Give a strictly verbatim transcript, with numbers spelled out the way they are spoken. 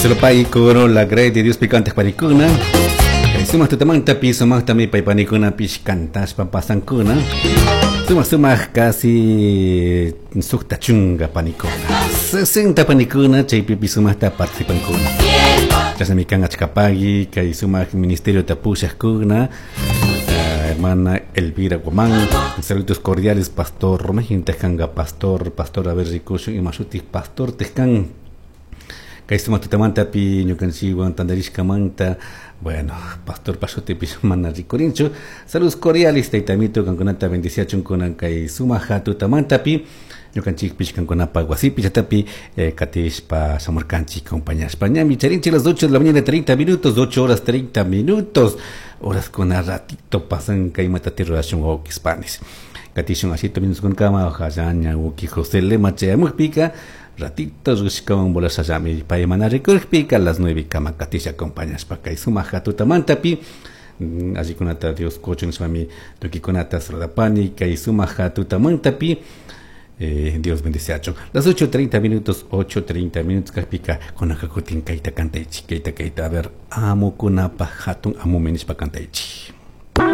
Solo coro la grey de Dios picante panikuna. Sumaq tutamantapi sumaqtami paypanikunapish kantashpa pasankuna. Sumaq sumaq casi suqta chunka panikuna. sesenta panikuna chaypipi sumaqta participankuna. Chashnami kan achkapagi kay sumaq ministerio tapushaqkuna. Hermana Elvira Guamán, saludos cordiales, pastor Romejin Tejanga, pastor, pastor a ver rikushun imashutik pastor Tejkan. Kay sumaq tutamantapi ñukanchikwan tantarishkamanta, bueno, pastor pashutipish mana rikurinchu. Saludos cordiales, taytamito, kankunata bendiciachunkuna kay sumaq tutamantapi ñukanchikpish kankunapa wasipi chatapi eh, katishpa shamurkanchik acompañashpa ñami charinchik las ocho de la mañana treinta minutos, ocho horas treinta minutos, horas con ratito pasan kay matati rurashun wawkispanis. Katishun ashito minutos ojalá ña wawki José Lema chayamukpika ratito rishkawan volashallami pay mana rikurikpika las nueve kama katisha acompañashpa kay sumaq tutamantapi allikunata Dios kuchun nishpami tukikunata saludapani kay sumaq tutamantapi. Eh, Dios bendiciacho. Las ocho treinta minutos, ocho treinta minutos, kapika, kunaka kutin kaita kantaichi, kaita kaita, a ver, amo kunapa hatun amo menishpa kantaichi.